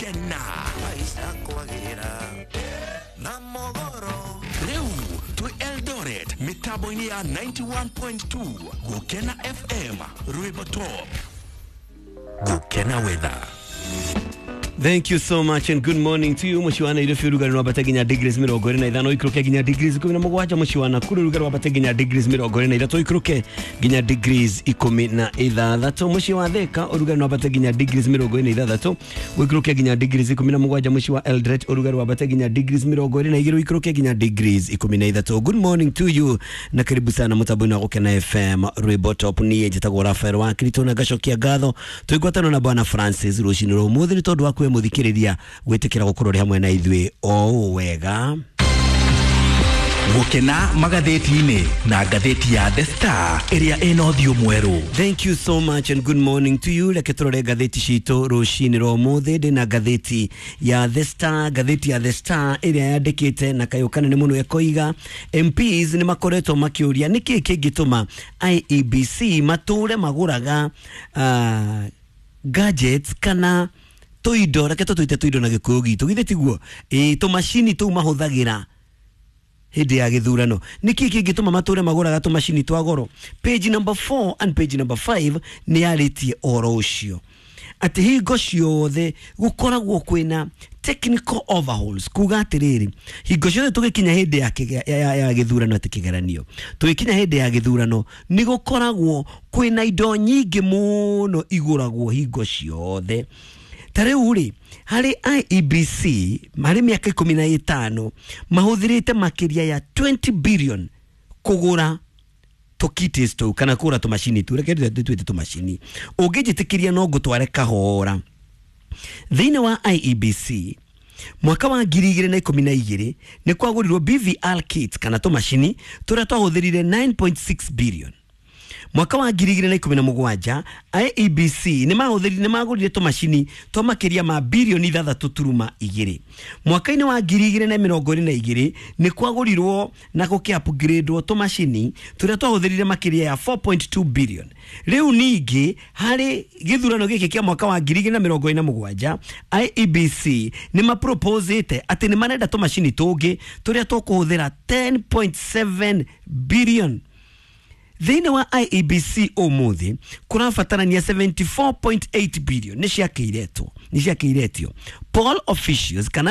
Gũkena rĩu twĩ Eldoret mĩtambo-inĩ ya 91.2 Gũkena FM, rwĩmbo top. Gũkena weather. Thank you so much and good morning to you. Mũciĩ wa Nairobi ũrugarĩ wambate nginya degrees 25, ũikũrũke nginya degrees 17. Mũciĩ wa Nakuru ũrugarĩ wambate nginya degrees 23, ũikũrũke nginya degrees 16. Mũciĩ wa Thika ũrugarĩ wambate nginya degrees 26, ũikũrũke nginya degrees 17. Mũciĩ wa Eldoret ũrugarĩ wambate nginya degrees 22, ũikũrũke nginya degrees 13. Good morning to you na karibu sana mũtambo-inĩ wa Gũkena FM, rwĩmbo top. Niĩ njĩtagwo Rafael wa Kirito na ngacokia ngatho twĩngwatano na Bwana Francis rũcinĩ rwa ũmũthĩ nĩ tondũ wa kwĩ mũthikĩrĩria gwĩtĩkĩra gũkorwo ũrĩ hamwe na ithuĩ o ũũ wega. Gũkena magathĩti-inĩ na ngathĩti ya The Star ĩrĩa ĩna ũthiũ mwerũ. Thank you so much and good morning to you. Reke tũrore ngathĩti citũ rũcinĩ rwa ũmũthĩ. Ndĩna ngathĩti ya The Star, ngathĩti ya The Star ĩrĩa yandĩkĩte na kayũ kanene mũno ĩkoiga MPs nĩ makoretwo makĩũria nĩkĩĩ kĩngĩtũma IEBC matũre magũraga gadgets kana tũindo, reke tũtwĩte tũindo na gĩkũyũ gitũ, githĩ tiguo? Ĩĩ, tũmacini tũu mahũthagĩra hĩndĩ ya gĩthurano. Nĩkĩ kĩngĩtũma matũre magũraga tũmacini twa goro? Page number 4 and page number 5 nĩ yarĩtie ũhoro ũcio atĩ hingo ciothe gũkoragwo kwĩna technical overhauls, kuga atĩrĩrĩ, hingo ciothe tũgĩkinya hĩndĩ ya gĩthurano, atĩ kĩgeranio tũgĩkinya hĩndĩ ya gĩthurano, nĩ gũkoragwo kwĩna indo nyingĩ mũno igũragwo hingo ciothe. Ta rĩu rĩ, harĩ IEBC harĩ mĩaka 15 mahũthĩrĩte makĩria ya 20 billion kũgũra tũkitis tũu kana kũgũra tũmacini tũu, reke twĩte tũmacini. Ũngĩnjĩtĩkĩria no ngũtware kahora thĩinĩ wa IEBC. Mwaka wa 2012 nĩ kwagũrirwo BVR kit kana tũmacini tũrĩa twahũthĩrire 9.6 billion. Mwaka wa 2017 IEBC nĩ mahũthĩrire, nĩ magũrire tũmacini twa makĩria ma birioni 6.2. Mwaka-inĩ wa 2022 nĩ kwagũrirwo na gũkĩ upgradewo tũmacini tũrĩa twahũthĩrire makĩria ya 4.2 billion. Rĩu ningĩ harĩ gĩthurano gĩkĩ kĩa mwaka wa 2027, IEBC nĩ maproposĩte atĩ nĩ marenda tũmacini tũngĩ tũrĩa tũkũhũthĩra 10.7 billion. Thĩinĩ wa IEBC ũmũthĩ kũrabatarania 74.8 billion nĩ ciakĩiretwo, nĩ ciakĩiretio poll officials kana